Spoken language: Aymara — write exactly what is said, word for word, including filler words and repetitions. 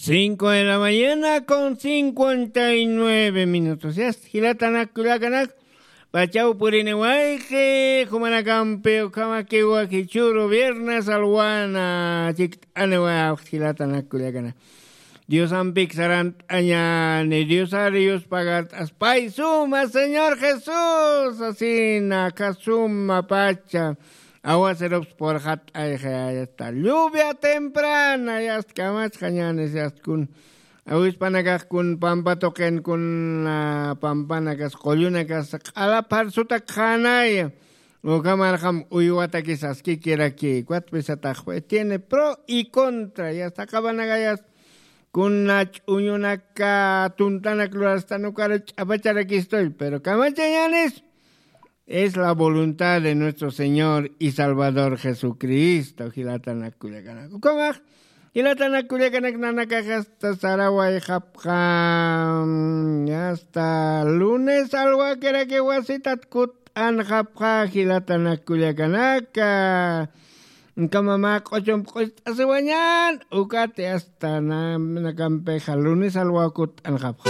Cinco de la mañana con cincuenta y nueve minutos. Yast jilatanak kullakanak, pachaw purini wayqi jumanakampi ukhamakiwa jichhuru viernes alwana chikt'aniwa jilatanak kullakanak. Diosampik sarant'añani, Diosari yuspagart'as pay suma Señor Jesús, asina kasuma pacha. Aguacerops purxat'ayxi, yasta lluvia temprana, yasta kamachxañanis, yasta kun awispanakax kun pampa tuqin kun, ah, pampanakas qullunakas q'ala pharsutak qhanaya. Ukhamarxam uywatakis askikiraki, cuatro pisataxpi tiene pro y contra, yasta qabanakayas kuna ch'uñunaka tuntanak lurastan ukara ch'apacharakistoy, pero kamachañanis. Es la voluntad de nuestro Señor y Salvador Jesucristo, jilatanak kullakanak. Ukhamax, jilatanak kullakanak, nanakax hasta sarawayxapxa, mm, hasta lunes alwakiraki wasitat kut'anxapxa, jilatanak kullakanaka. Ukhama mä q'uchump q'ucht'asiwañan, ukati hasta na-, nakampixa lunes alwa kut'anxapxa.